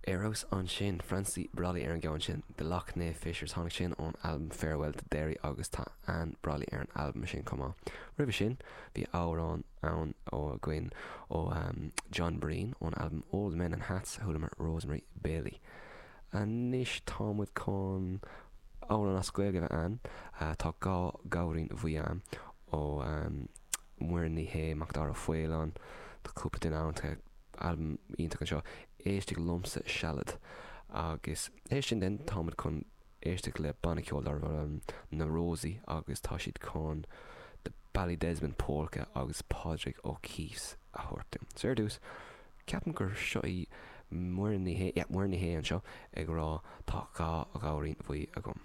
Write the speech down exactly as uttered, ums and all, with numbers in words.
Arós ansin Francie Brolly ar an gceann sin The Lough Neagh Fishers tháinig sin ón albam Farewell to Derry agus tá Anne Brolly ar an albam sin chomh maith. Roimhe sin bhí amhrán ann ó againn ó um, John Breen ón albam Old Men and Hats chualamar Rosemary Bailey. Anois táimid chun amhrán as Gaeilge ann uh, tá dhá ghabhairín bhuí ó um, Muireann Ní Shé Macdara Faolan Tá cúpla duine ann albam iontach anseo Éist liomsa sealad agus é sin den táimid chun éisteacht le banna ceoil darb um, na Rosaí agus tá siad chun The Ballydesmond Polka agus Pádraig O'Keeffe a thabhairt. So ar dtús ceapaim gur seo í Muireann Ní Shé Muireann Ní Shé anseo ag rá tá dhá ghabhairín bhuí agam.